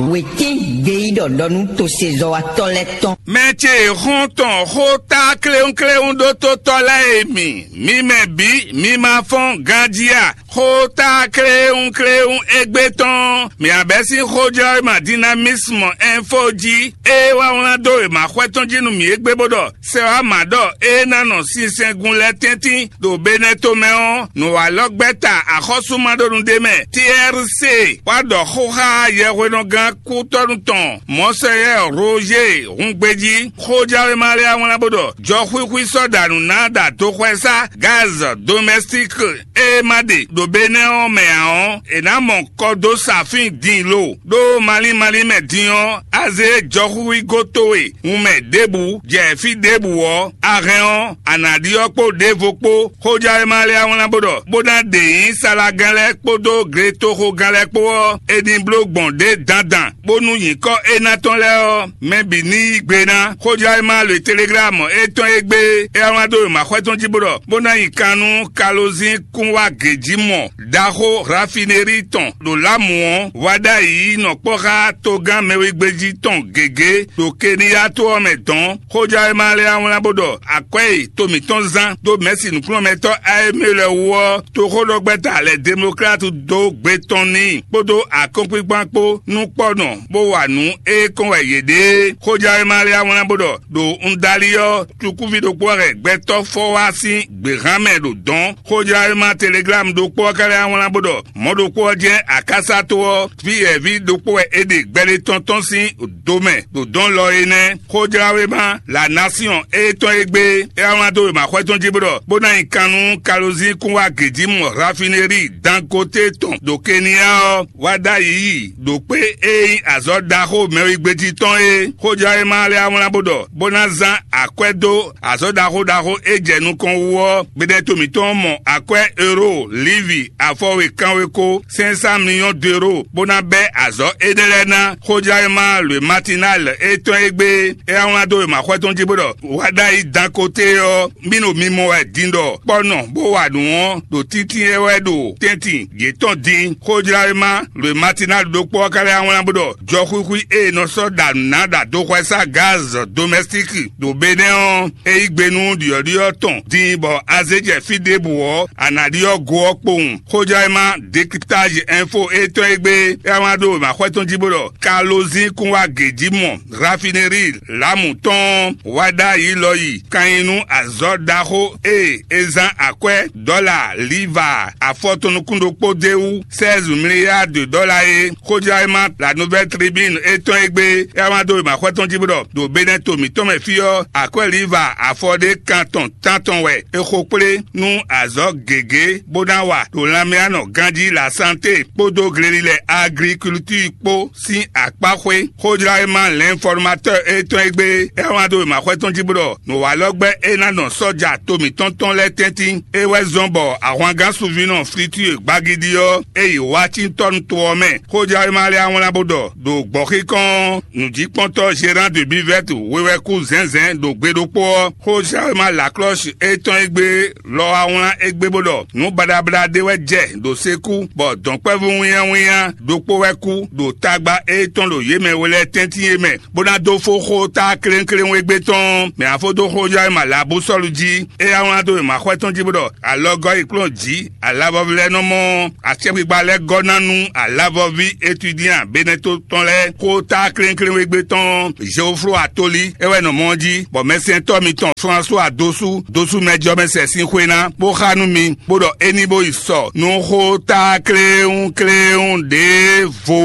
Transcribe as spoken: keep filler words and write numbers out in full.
Wětín gbeyíɖɔ ɖɔ nú tosezɔ́watɔ́ lɛ́ɛ tɔn. Mɛ ce e xɔ́n tɔn xó tá kléwúnkléwún ɖó tótɔ́ lɛ́ɛ e mi, mi mɛ bǐ, mi ma fɔ́n ganjí a? Xó tá kléwúnkléwún égbé tɔn, mǐ abɛ́ sín xójlɔ́wéma Dinamisme Info jí, é wá wlán dó wěma xwɛ tɔn jí nú mǐ égbé bó ɖɔ: Sɛ wá mǎ ɖɔ é ná nɔ sinsɛngun lɛ́ɛ tɛ́ntin ɖo Benɛ́ tomɛ ɔ́, nǔwalɔ́gbɛ́ta axɔ́súmaɖónu ɖé mɛ, T R C, wá ɖɔ xó xá yɛhwenɔgán kútɔ́nú tɔn Mɔnsɔyɛ́ Roger Hungbejí. Xójlɔ́wéma lɛ́ɛ wá wlán bó ɖɔ: Jɔxwíxwí sɔ́ ɖa nǔ ná ɖo adoxwɛsá gaz domɛstík e ma ɖe ɖo Benɛ́ ɔ́ mɛ ǎ ɔ́, è nǎ mɔ kɔ dó sa fín din lo, ɖó malín malín mɛ din ɔ́, a zé jɔxúxwígó towe hun mɛ ɖěbǔ, jɛ fí ɖěbǔ ɔ́, a hɛn ɔ́, a nǎ ɖyɔ́ kpó ɖěvo kpó. Xójlɔ́wéma lɛ́ɛ wá wlán bó ɖɔ: Bó ná ɖe nyǐ salagán lɛ́ɛ kpódó gletoxogán lɛ́ɛ kpó ɔ́, è nǐ bló gbɔn ɖě dandan, bónú nyǐkɔ éná tɔn lɛ́ɛ ɔ́, mɛ bǐ ní yí gbe ná. Xójlɔ́wéma le Teleglámu étɔn e gbé é wá wlán dó wěma xwɛ tɔn jí bó ɖɔ: Bó ná nyi kan nú Kalozín kún wá gějímɔ ɖaxó rafinerí tɔn ɖo Lámu ɔ́, wá ɖ'ayǐ nɔ kpɔ́ xá togán mɛwegbejí tɔn gěgé ɖo Keniyá to ɔ́ mɛ dɔ̌n. Xójlɔ́wéma lɛ́ɛ wá wlán bó ɖɔ: Akwɛ́ e to mǐtɔn zán dó mɛ̌si nǔkplɔ́nmɛtɔ́ Ayémélɛ wú ɔ́, toxóɖɔgbɛ́ta lɛ̌ Demoklátu dó gbe tɔn n'i kpódó akɔ́nkpinkpan kpó nú kpɔ́nɔ, bó wa nǔ e kɔn wɛ yě ɖe é. Xójlɔ́wéma lɛ́ɛ wá wlán bó ɖɔ: Ɖo un dali ɔ́, cukúví ɖokpó wɛ hɛn gbɛtɔ́ fɔ wá sín gběhan mɛ ɖo dɔ̌n. Xójlɔ́wéma Teleglámu ɖokpó ɔ́ ka lɛ́ wá wlán bó ɖɔ: Mɔ̌ ɖokpó ɔ́ jɛ́n akásá to ɔ́, vǐyɛ̌ví ɖokpó wɛ é ɖe gbɛɖe tɔn tɔn sín do mɛ ɖo dɔ̌n lɔ é nɛ́. Xójlɔ́wéma La Nation étɔn e gbé é wá wlán dó wěma xwɛ tɔn jí bó ɖɔ: Bó ná nyi kan nú Kalozín kún wá gějímɔ rafinerí Dangote tɔn ɖo Keniyá ɔ́, wá ɖ'ayǐ yi ɖo kpé e nyí azɔ̌ ɖaxó mɛwigbejí tɔn é. Xójlɔ́wéma lɛ́ɛ wá wlán bó ɖɔ: Bó ná zán akwɛ́ dó azɔ̌ ɖaxó ɖaxó e jɛ nukɔn wú ɔ́, gbɛɖɛ́to mǐtɔn mɔ akwɛ́ euro lívi afɔwe kanweko cinq cent millions d'euros, bó ná bɛ́ azɔ̌ énɛ́ lɛ́ɛ ná. Xójlɔ́wéma Le Matinal étɔn e gbé é wá wlán dó wěma xwɛ tɔn jí bó ɖɔ: Wá ɖ'ayǐ Dangote ɔ́, mì ɖo mimɔ wɛ din ɖɔ kpɔ́nɔ bó wa nǔ ɔ́ ɖo tíntín é wɛ ɖo tɛ́ntin yětɔn din. Xójlɔ́wéma Le Matinal ɖokpó ɔ́ ka lɛ́ wá wlán bó ɖɔ: Jɔxwíxwí e è nɔ sɔ́ ɖa nǔ ná ɖo adoxwɛsá gaz domɛstík ɖo Benɛ́ ɔ́, é yí gbe nú ɖyɔ̌ɖyɔ́ tɔn din bɔ a zé jɛ fí ɖěbǔ ɔ́, a nǎ ɖyɔ́ go ɔ́ kpowun. Xójlɔ́wéma Décryptage Info étɔn e gbé é wá wlán dó wěma xwɛ tɔn jí bó ɖɔ: Kalozín kún wá gějímɔ rafinerí Lámu tɔn ɔ́, wá ɖ'ayǐ lɔ yi kan nyi nú azɔ̌ ɖaxó e è zán akwɛ́ dɔ́la liva afɔtɔn nukún ɖokpó d'é wú seize milliards de dollars é. Xójlɔ́wéma La Nouvelle Tribune étɔn e gbé é wá wlán dó wěma xwɛ tɔn jí bó ɖɔ: Ɖo Benɛ́to mǐtɔn mɛ fí ɔ́, akwɛ́ liva afɔ ɖé kan tɔn tántɔn wɛ è xo kplé nú azɔ̌ gěgé bó ná wa ɖo lanmɛyánɔ ganjí la santé kpódó glelilɛ agriculture kpó sín akpáxwé. Xójlɔ́wéma L'Informateur étɔn e gbé é wá wlán dó wěma xwɛ tɔn jí bó ɖɔ: Nǔwalɔ́gbɛ́ e ná nɔ sɔ́ja to mǐtɔn tɔn lɛ́ɛ tɛ́ntin é wɛ zɔ́n bɔ ahwangán sunvínɔ Fritue Gbagidi ɔ́, é yi Washington to ɔ́ mɛ. Xójlɔ́wéma lɛ́ɛ wá wlán bó ɖɔ: Ɖo gbɔ̌xíkɔn ɔ́, nǔjíkpɔ́ntɔ́ Gérant de Bivette wewɛkú zɛ̌nzɛ̌n ɖo gbe ɖokpó ɔ́, xójlɔ́wéma Lacroche étɔn e gbé lɔ wá wlán égbé bó ɖɔ: Nǔ baɖabaɖa ɖé wɛ jɛ ɖo sekú, bɔ dɔ̌nkpɛvú wínnyáwínnyá ɖokpó wɛ kú ɖo tagba étɔn ɖo yě mɛ we lɛ́ɛ tɛ́ntin é mɛ, bó ná dó fó xó tá klénkléwún égbé tɔn. Mɛ afó dó xójlɔ́wéma Labúsɔ́lu jí, é yá wlán dó wěma xwɛ tɔn jí bó ɖɔ: Alɔgɔ́ yi kplɔ́n jǐ, alavɔví lɛ́ɛ nɔ mɔ ɔ́, acɛkpikpa lɛ́ɛ gɔ́ ná nú alavɔví Etudian Benɛ́to tɔn lɛ́ɛ. Xó tá klénkléwún égbé tɔn Jeoflo Atoli é wɛ nɔ mɔ ɔ́ jí, bɔ mɛsɛntɔ́ mitɔn François Dosu, Dosu mɛjɔmɛ sɛ sín xwé ná, bó xá nú mi, bó ɖɔ é ní bó yi sɔ nú xó tá kléwún kléwún ɖěvo.